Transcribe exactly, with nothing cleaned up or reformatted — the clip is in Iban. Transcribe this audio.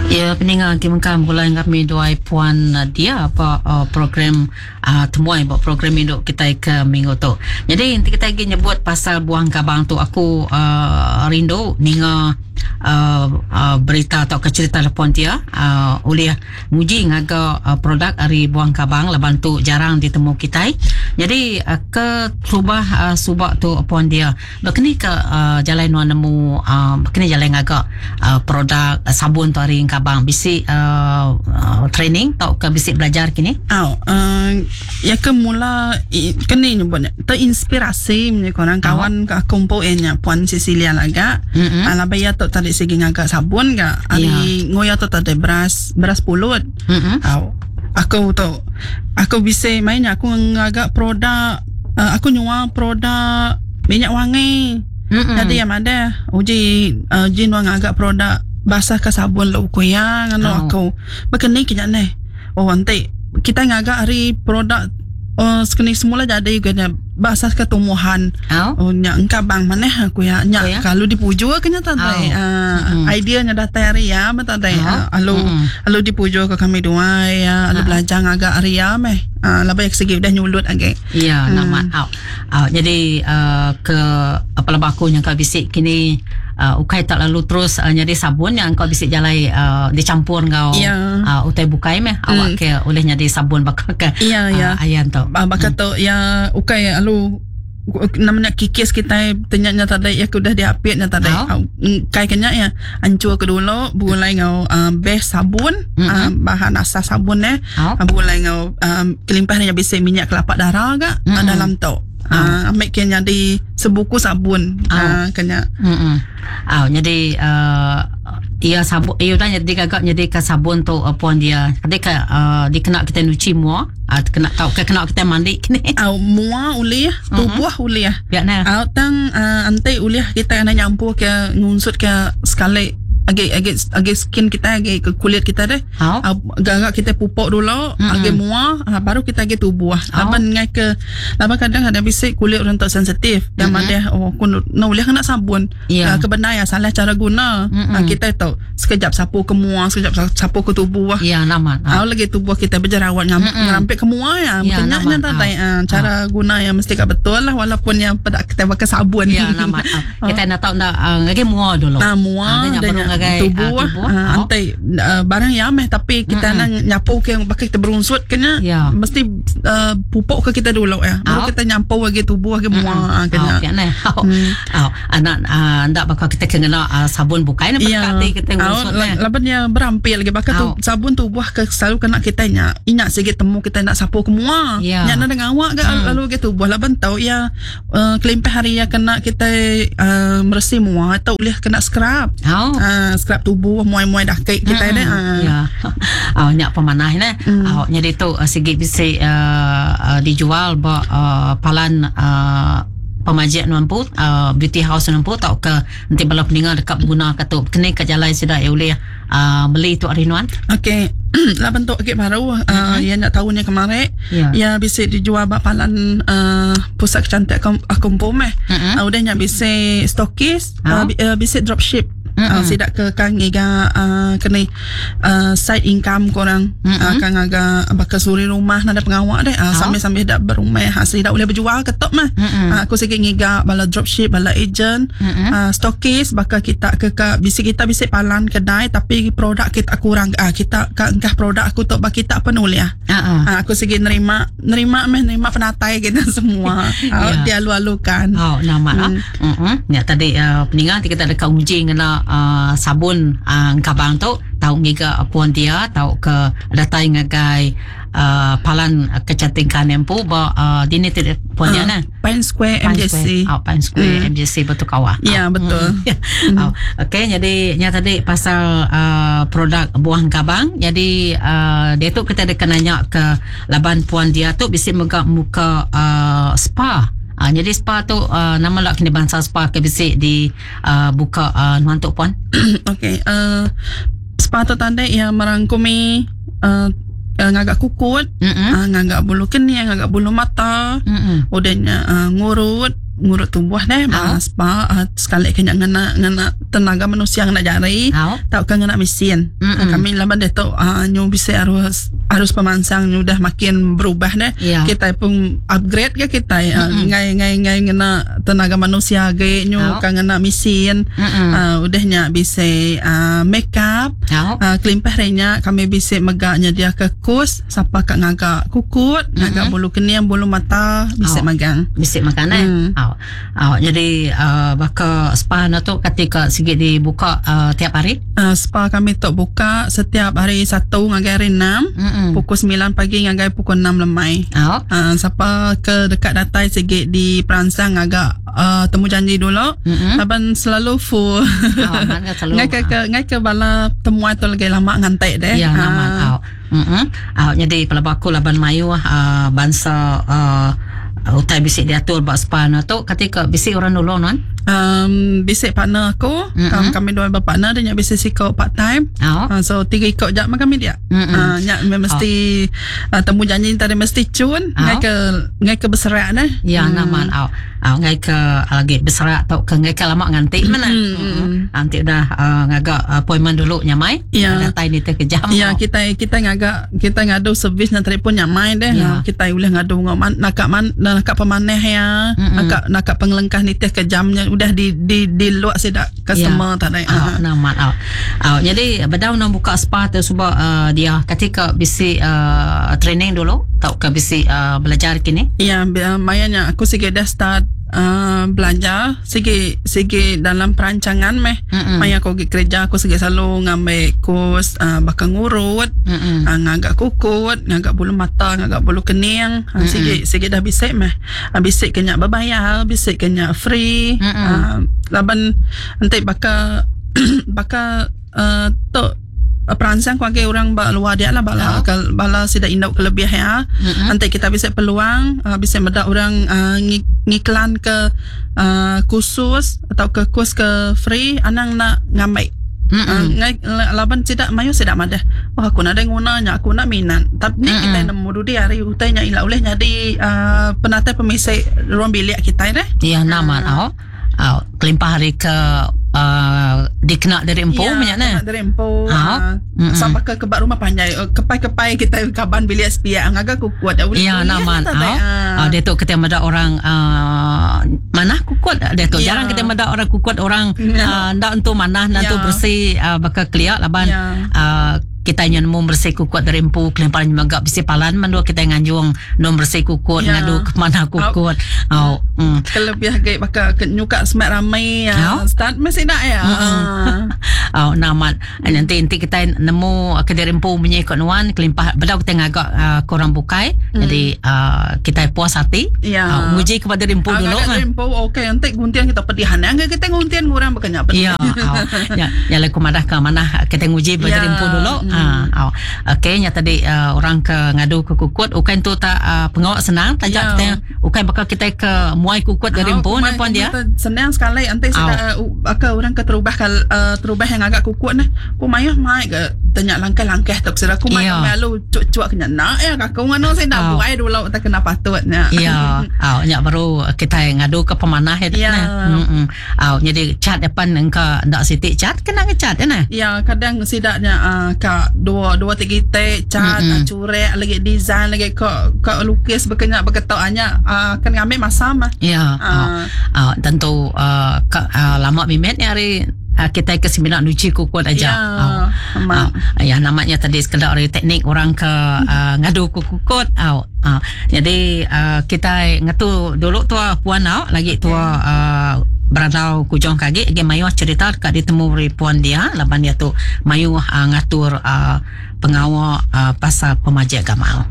Ya, peninga ti mengkang begulai enggau kami duai Puan dia ba uh, program uh, temuai ba program indu kitai ke minggu tu. Jadi enti kitai agi nyebut pasal buah engkabang tu, aku uh, rindu ninga uh, uh, berita atau ke cerita telefon dia uh, ulih nguji ngaga uh, produk ari buah engkabang laban tu jarang ditemu kitai. Jadi uh, ke terubah uh, subak tu Puan dia, bekeni ke uh, jalai nuan nemu uh, bekeni jalai ngaga uh, produk uh, sabun tu ari engkabang, bisi uh, uh, training atau ke bisi belajar kini? Oh, uh, ya ke mula kini nyebutnya terinspirasi punya korang kawan oh. Aku kumpul nya Puan Cecilia laga. Mm-hmm. Ala ya tu tadi sigi ngaga sabun ga. Ari yeah. Ngoya tu tadi beras beras pulut. Mm-hmm. Oh, aku tu aku bisa main aku ngaga produk uh, aku nyual produk minyak wangi. Mm-hmm. Jadi yang ada uji uh, uji nuang ngaga produk basah ke sabun lu ku ya ngano oh. Aku bekeni kinya ne. Oh nanti kita ngaga hari produk oh sekeni semula jadi kena basah ke tumbuhan. Oh, oh nya engkabang maneh aku ya nya oh, ya? Kalau dipuju kena tadi oh. uh, mm-hmm. Ideanya datang hari ya tadi oh. Alu mm-hmm. Alu dipuju ke kami dua ya alu uh. Belajar ngaga hari ya meh uh, labai segi udah nyulut age. Ya hmm. Nama oh. Oh, jadi uh, ke apa lebah aku yang kau bisik kini uh, ukai tak lalu terus uh, jadi sabun yang kau bisik jalai uh, dicampur ngau yeah. uh, utai bukai meh mm. Awak ke oleh jadi sabun bakal ke yeah, yeah. Uh, ayan tu. Bakal mm. Tu ya ukai alu namanya kikis kita tanya tadi ya udah diapitnya tadi oh. Kai kenya ya ancur ke dulu bulai ngau uh, base sabun mm-hmm. uh, bahan asas sabun eh oh. Bulai ngau um, kelimpahnya bisa minyak kelapa darah gak mm-hmm. uh, dalam tu. Uh, ambil kena jadi sebuku sabun oh. uh, kena. Mm-hmm. Oh, jadi uh, ia sabun ia dah jadi gagak jadi ke sabun tu uh, puan dia. Jadi ke uh, dikena kita nyuci mua, uh, kena tahu ke kena kita mandi kini. Au uh, mua ulih, tubuh mm-hmm. ulih. Ya nah. Au tang uh, ante ulih kita kena nyampur ke ngunsut ke sekali agi agi agi skin kita agi ke kulit kita deh. Oh. Gagak kita pupuk dulu, mm-hmm. agi mua, baru kita agi tubuh. Oh. Laban ngai ke laban kadang ada bisik kulit orang tak sensitif. Yang mm-hmm. ada oh aku no boleh kena sabun. Yeah. Uh, kebenar ya salah cara guna. Mm-hmm. Uh, kita tahu sekejap sapu ke mua, sekejap sapu ke tubuh. Ya, yeah, nama. Uh. lagi tubuh kita berjerawat ngam, mm-hmm. ngerampit ke mua ya. Yeah, Kenyaknya tak uh, cara oh. guna yang mesti kat betul lah walaupun yang pada kita pakai sabun. Ya, yeah, nama. Uh. Kita nak tahu nak uh, ngagi mua dulu. Nah, mua uh, dan tubuh, tubuh uh, oh. Antai uh, barang yang meh tapi kita mm-hmm. nang nyapu ke yang pakai kita berunsut kena yeah. Mesti uh, pupuk ke kita dulu ya baru oh. Kita nyampu lagi tubuh lagi mua mm-hmm. kena oh, kena oh. Hmm. Oh. Anak uh, ndak bakal kita kena uh, sabun bukai nak yeah. berkati kita ngunsut oh, eh. Laban dia berampil lagi bakal oh. tu, sabun tubuh ke selalu kena kita nya ingat sikit temu kita nak sapu ke mua yeah. Nya nak dengan awak ke mm. Lalu ke tubuh laban tahu ya uh, kelimpah hari ya kena kita uh, meresih mua atau boleh kena scrub oh. uh, scrub tubuh muai-muai dah kek kita mm-hmm. dah. Ya. Oh, nyak pemanah ne. Mm. Oh, jadi tu uh, segi bisi uh, uh, dijual ba uh, palan uh, pemajik nuampu uh, beauty house nuampu tau ke nanti bala peninga dekat guna ke tu kena ke jalan sida ya boleh uh, beli tu hari nuan. Okey. Lah bentuk kek baru uh, mm-hmm. Ya nak tahunnya kemarin yeah. Ya bisa dijual bak palan uh, pusat kecantikan aku meh. Mm-hmm. Uh, udah nyak bisa stokis, Oh. uh, uh, bisa dropship. Mm-mm. Uh, sidak ke kang ngiga uh, kena uh, side income korang Mm-mm. uh, kang aga bakal suri rumah nada pengawak deh uh, Oh. sambil-sambil dak berumah ha sidak boleh berjual ketok mah Mm-mm. uh, aku sikit ngiga bala dropship bala agent Mm-mm. uh, stokis bakal kita ke ke bisi kita bisi palan kedai tapi produk kita kurang uh, kita ka engkah produk aku tok bagi kita penuh ya Ah, ah. uh, aku sikit nerima nerima meh nerima penatai kita semua uh, Ya. dia alu-alukan. Oh, nama Hmm. lah. Mm-mm. Ya tadi uh, peningan kita dekat uji ngena uh, sabun uh, engkabang tu tau ngiga puan dia tau ke datai ngagai uh, palan kecantikan empu ba uh, dini tidak puan dia Ah, nah. Pine Square Pine M J C. Square. Oh, Pine Square Hmm. M J C Batu Kawah. Ya, Oh. betul. Mm. Oh, okey, jadi nya tadi pasal uh, produk buah engkabang. Jadi uh, dia tu kita ada nanya ke laban puan dia tu bisi mega muka uh, spa. Uh, jadi spa tu uh, nama lak kini bangsa spa ke bisi di uh, buka uh, nuan tu puan. Okey, uh, spa tu tadi yang merangkumi uh, uh, ngagak kukut, Mm-mm. uh, ngagak bulu kening, ngagak bulu mata, Mm-mm. udahnya uh, ngurut, ngurut tubuh deh uh. Spa uh, sekali kena ngena ngena tenaga manusia ngena jari uh. Tau ke ngena mesin. Uh, kami laban dia tu uh, nyu bisa harus harus pemansang nyu dah makin berubah deh. Yeah. Kita pun upgrade ke kita uh, ngai ngai ngai ngena tenaga manusia ge nyu uh. Kan ngena mesin. Uh, udahnya bisa uh, make up. Uh. Uh, kelimpah renya kami bisa megaknya dia ke kus siapa kak ngagak kukut, ngagak bulu kening, bulu mata bisa oh. Magang. Bisa makan eh. Hmm. Oh. Oh, jadi uh, baka spa na tu ketika sikit dibuka uh, tiap hari? Uh, spa kami tu buka setiap hari Sabtu ngagai hari enam, Mm-mm. pukul sembilan pagi ngagai pukul enam lemai. Oh. Uh, siapa ke dekat datai sikit di perangsang agak uh, temu janji dulu. Mm-mm. Laban selalu full. Oh, mana selalu. Ngai ke, ke ngai ke bala temuan tu lagi lama ngantai deh. Ya, nama Ah. oh. Mm-mm. Oh, jadi pelaba aku laban mayu uh, bangsa uh, utai bisik diatur bak spa na tu ketika bisik orang nulung non. Um, bisik partner aku, Mm-mm. mm-hmm. kami dua berpartner dia nyak bisik sikok part time. Oh. Uh, so tiga ikut jak kami dia. Mm-mm. Uh, nyak mesti uh, temu janji tadi mesti cun Oh. ngai ke ngai ke berserak dah. Ya, hmm. Naman au. Au ngai ke lagi berserak atau ke ngai ke lama nganti mana. Mm, Hmm. Nanti dah uh, ngagak appointment dulu nyamai. Ya. Datai ni terkejam. Ya, kita kita ngagak kita ngadu servis na telefon nyamai deh. Ya. Kita boleh ngadu ngok man nakak man nakak pemaneh ya. Mm-mm. Nakak nakak pengelengkah nitih ke jamnya udah di di di luak sedak customer Ya. tak ada. Au, naman au. Au, jadi bedau nak buka spa tu sebab uh, dia ketika bisi uh, training dulu atau ke bisi uh, belajar kini. Ya, mayanya aku sikit dah start uh, belajar sikit sikit dalam perancangan meh. Mm-mm. Maya aku pergi kerja aku sikit selalu ngambil kurs uh, bakal ngurut, Mm-mm. uh, ngagak kukut, ngagak bulu mata, ngagak bulu kening. Uh, sikit sikit dah bisik meh. Uh, bisik kenyak berbayar, bisik kenyak free. Mm-mm. Uh, laban nanti bakal bakal uh, tok perangsang kuagi orang bak luar dia lah bala Oh. kal bala sida induk kelebih ya. Mm-mm. Nanti kita bisa peluang uh, bisa medak orang uh, ngiklan ke uh, kursus atau ke kurs ke free anang nak ngambil. Mm-mm. Uh, ngai laban tidak mayu tidak madah. Wah aku nak ada gunanya, aku nak minat. Tapi ni Mm-mm. kita nemu dudi hari utainya ila oleh jadi uh, penata pemisai ruang bilik kita dah. Ya, naman au. Au, kelimpah hari ke uh, dikena dari empu Ya, banyak nah. kena dari empu. Ha? Uh, sampai ke kebak rumah panjai kepai-kepai kita kaban bilik sepiak ngagak kukut. Ya, naman au. Ah, dia tu kita meda orang uh, mana kukut dia tu. Ya. Jarang kita meda orang kukut orang Ya. uh, ndak entu manah ndak entu Ya. bersih uh, bakal keliak laban Ya. uh, kita nyen nemu bersih kukut dari empu kelimpahan juga bisi palan mendua kita nganjung nom bersih kukut Ya. ngadu ke mana kukut. Au. Mm. Kelebih gay bakal ke nyuka semat ramai Ya. ya. Start mesti nak ya. Mm-mm. Oh, namat. Nanti nanti kita nemu ke dari empu punya ikut nuan kelimpah bedau kita ngagak uh, korang bukai. Mm. Jadi uh, kita puas hati. Ya. Uh, nguji kepada empu Ah, dulu ngagak kan. dari empu okey nanti guntian kita pedihan. Angga kita nguntian ngurang bukannya apa. Ya, oh. Ya, ya lah kumadah ke mana kita nguji pada Ya. empu dulu. Mm. Ah, oh. Okey, nya tadi uh, orang ke ngadu ke kukut ukan tu tak uh, pengawak senang tajak Ya. kita ukan bakal kita ke muai kukut dari Ah, empu kumai- ni puan dia. kumai Senang sekali nanti sudah uh, orang ke terubah kal uh, terubah yang agak kukut ni. Ku mayuh mai ke tanya langkah-langkah tu sudah ku mai Ya. malu cuk-cuk kena nak ya aku ngono saya nak Ah. buai dulu tak kena patutnya. Ya, aw nyak baru kita ngadu ke pemanah ya. Ya. Hmm. Aw jadi cat depan engka ndak sitik cat kena ngecat ya nah. Ya kadang sidaknya uh, kak dua dua tiga tek cat Mm-mm. mm-hmm. curek lagi design lagi kok kok lukis berkenyak berketok hanya uh, kan ngambil masa mah. Ya. Aw, Ah. aw, tentu uh, ke, uh, lama mimet ni hari uh, kita ke seminar nuci kukut aja. Ya. Aw. Amat. Aw, ya namanya tadi sekedar dari teknik orang ke uh, ngadu kukut. Aw. Uh, jadi uh, kita ngetu dulu tua puan aw lagi tua uh, beradau kujong kagi ge mayu cerita dekat ditemu ri puan dia laban dia tu mayu uh, ngatur uh, pengawal uh, pasal pemajak gamal.